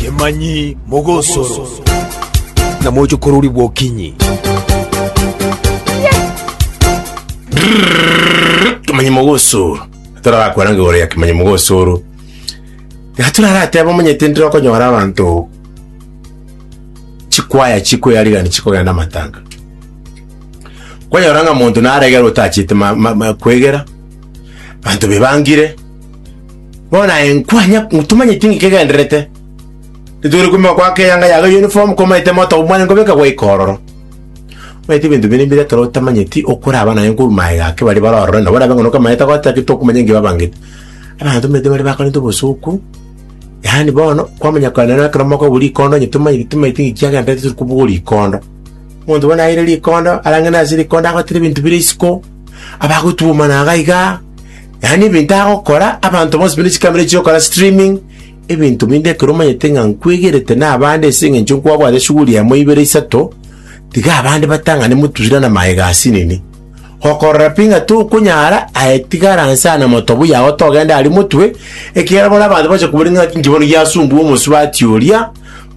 Kemanyi mogosoro. Na mochokorori bw'okinyi. Kimanyi mogosoro. Torarakwana igoro ya kimanyi mogosoro. Tiga turaratebe omanyete ndire okonyora abanto chikwaya chikoyarigani chikogenda amatanga. Kwanyora ng'a monto naregera otachete ma- ma- ma- kwegera, abanto bebangire, bono aye nkwanya tomanyeti ng'iki kegendererete. Rituri kumbe goaka eyanga yago uniform komaete moto omwane nkobeka gwaika ororo. Omanyete ebinto binde mbire ekero otamanyeti okoraba naye nkorwa magega ake baria bare ororo nabo orabe ng'a nokamanyete goteba ki tokomanya nki babangete. Abanto omanyete bare bakorenta obosoku, yaani bono kwamanya kare nere ekero mokobua rikondo onye tomanyeti tomanyeti ng'iki kiagendererete tori kobua rikondo. Omonto bono aire rikondo arang'e ase rikondo agotera ebinto bire isiko, abagotwomana iga igaa, yaani ebinto agokora abanto bonsi buna chikamera chigokora streaming. Ebinto binde ekero omanyete ng'a nkwegerete nabande ase engencho nkwabwate shughuli emo ibere isato, tiga abande batang'ane motusire na magega asinini. Gokorora pi ng'a tokonyara, aye tigara nse aa na motobu yao togende aria motwe, ekiagera bono abanto bacha koboria ng'a inki bono giasumbua omosubati oria,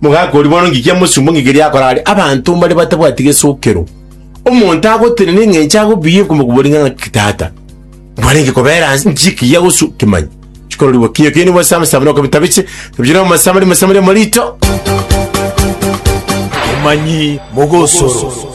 mogaka oria bono nki kiamosumbua nki keria akora aria. Abanto mbare batabwati gesokero. Omonto agotenena eng'encho agobiya okomokoboria ng'a ng'aki tata. Nkwarenge kobera nse nki ekiya gosu kimanye chikororigwa kiyo kende bwa sama sama noko bitabiche tabiche no masama masama marito Kemanyi mogosoro.